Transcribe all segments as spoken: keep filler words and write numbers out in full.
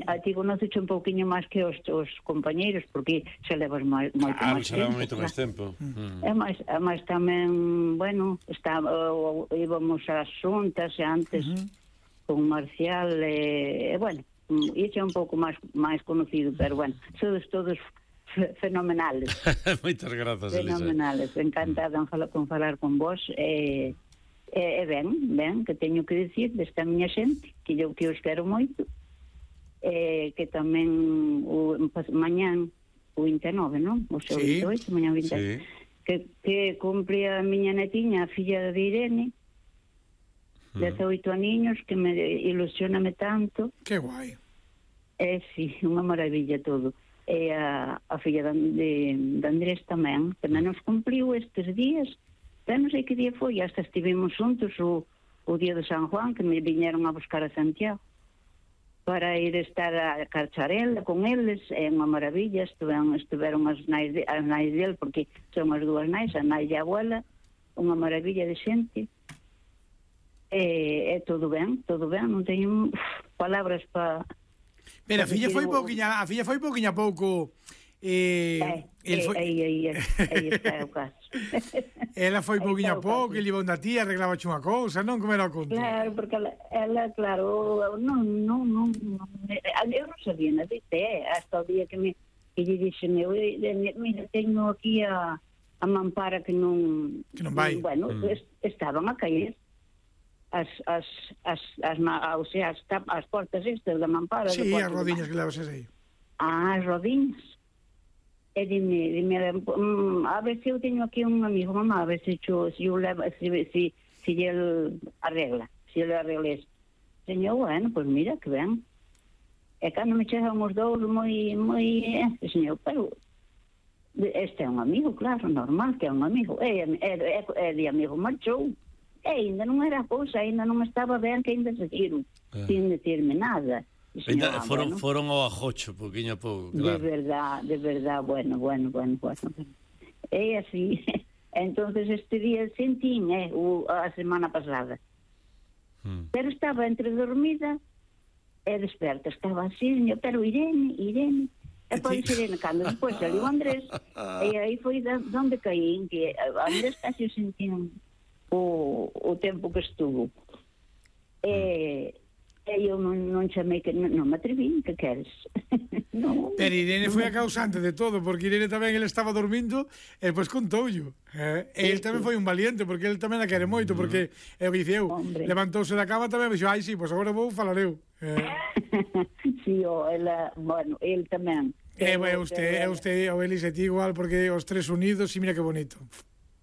a ti conoces un pouquiño máis que os, os compañeiros, porque se levas moito ah, máis tempo. Ah, moito máis tempo. Mm. E máis, e máis tamén, bueno, está, uh, íbamos ás xuntas antes uh -huh. con Marcial, e, e bueno, ixe é un pouco máis máis conocido, pero bueno, sodes todos fenomenales. Moitas grazas, Elisa. Fenomenales, encantada en falar, con falar con vos, e, e, e ben, ben, que teño que dicir desta miña xente, que eu que os quero moito, e que tamén o, mañán o vinte e nove, non? O seu sí. vinte e oito, mañán vinte e oito. Sí. Que, que cumpre a miña netiña, a filla de Irene, mm. dezoito aniños, que me ilusioname tanto. Que guai. É, sí, unha maravilla todo. E a, a filla de, de Andrés tamén, que menos cumpliu estes días, pero non sei que día foi, hasta estivemos juntos o, o día de San Juan, que me viñeron a buscar a Santiago para ir estar a Carcharela con eles, é unha maravilla. Estuveron, estuveron as nais, de, as nais del, porque son as dúas nais, a nai e a abuela, unha maravilla de xente. E, é todo ben, todo ben, non teño uf, palabras para... Pero a filla foi pouquiña, a filla foi pouquiña pouco... Eh, eh, foi... aí, aí, aí, aí está o caso. Ela foi pouquiña pouco, ele iba unha tía, arreglaba unha cousa, non? Como era o conto? Claro, porque ela, ela claro, non, non, non, non, eu non sabía nada de té, hasta o día que me que lle dixe, meu, mira, teño aquí a, a mampara que non... Que non vai. Bueno, mm. est, estaban a caer as, as, as, as, as, o sea, as, as portas estas da mampara. Sí, as rodiñas que levas aí. Ah, as rodiñas. E dime, dime, um, a ver se eu teño aquí un amigo, mamá, a ver se yo, se eu levo, se, se, se el arregla, se ele arregla isto. Señor, bueno, pues mira, que ben. E cando me chegan os dous moi, moi, eh, señor, pero este é un amigo, claro, normal que é un amigo. E, e, e, e de amigo marchou. E ainda non era cousa, ainda non estaba ben que ainda seguiron, ah. sin decirme nada. Señora, foron, bueno, foron ao ajocho, poquinho a pouco, claro. De verdad, de verdad, bueno, bueno, bueno, bueno. É así. Entonces este día sentín, eh, o, a semana pasada. Hmm. Pero estaba entre dormida e desperta. Estaba así, pero Irene, Irene. E pois Irene, cando despois saliu Andrés, e aí foi donde caí, que Andrés casi sentín o, o tempo que estuvo. E... E eu non, non chamei, que non, non me atreví, que queres? No, pero Irene foi a causante de todo, porque Irene tamén, ele estaba dormindo e depois contoullo, eh? E ele tamén foi un valiente, porque ele tamén a quere moito, porque eu diceu, levantouse da cama tamén e dixo, ai, sí, pois agora vou falar eu, eh? Sí, o, ela, bueno, ele tamén. E, é usted, é usted, o Eli se ti igual, porque os tres unidos, e mira que bonito.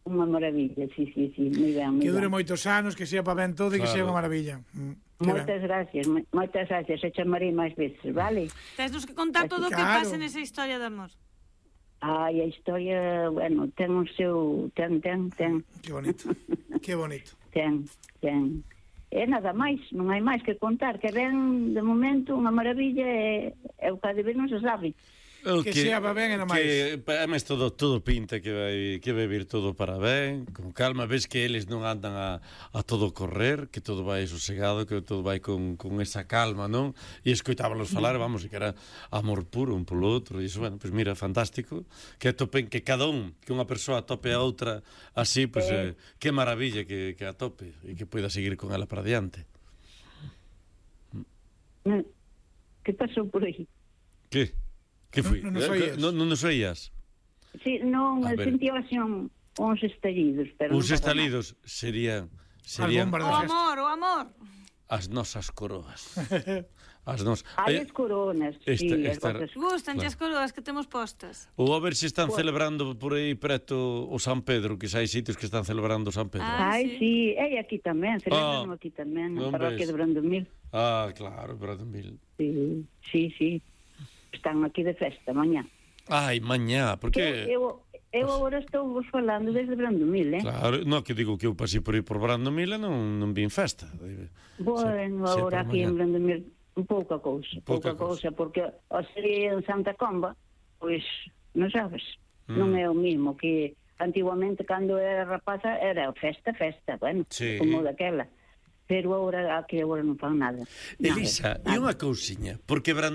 Unha maravilla, sí, sí, sí, moi ben, moi ben. Que dure moitos anos, que sea para ben todo e que sea unha maravilla. Moitas gracias, moitas gracias, e chamarei máis veces, vale? Tesnos que contar todo o que pasa nesa historia de amor. Ai, a historia, bueno, ten o seu, ten, ten, ten. Que bonito, que bonito. Ten, ten. E nada máis, non hai máis que contar, que ven de momento unha maravilla e, e o que de ver non se sabe. Que, que sea va ben e na máis. Que además todo, todo pinta que vai, que vai vir todo para ben, con calma, ves que eles non andan a, a todo correr, que todo vai sosegado, que todo vai con, con esa calma, non? E escoitábalos falar, vamos, e que era amor puro un polo outro, e iso, bueno, pois pues mira, fantástico, que atopen, que cada un, que unha persoa atope a outra así, pois pues, eh, que maravilla que, que atope e que poida seguir con ela para diante. Que pasou por aí? Que? Que foi? Non nos oías? Non no, no nos oías? Sí, non, sentía así un, uns estalidos, pero uns estalidos serían serían o amor, o amor. As nosas coroas. As nos. Hai as coronas, esta, sí, esta, as gustanche claro. As coroas que temos postas. Ou a ver se están pues... celebrando por aí preto o San Pedro, que hai sitios que están celebrando o San Pedro. Ah, Ai, sí, e aquí tamén, celebramos ah, aquí tamén, na parroquia de Brandomil. Ah, claro, Brandomil. Sí, sí, sí. Están aquí de festa, mañá. Ai, mañá, porque... Eu, eu agora estou vos falando desde Brandomil, eh? Claro, non, que digo que eu pasei por aí por Brandomil e non, non vin festa. Bueno, se, agora aquí en Brandomil, un pouca cousa, pouca, pouca cousa, porque o sería en Santa Comba, pois, non sabes, mm. non é o mismo que antiguamente, cando era rapaza, era festa, festa, bueno, sí. Como daquela. Pero agora, aquí agora non fan nada. Elisa, e unha cousiña, porque Brandomil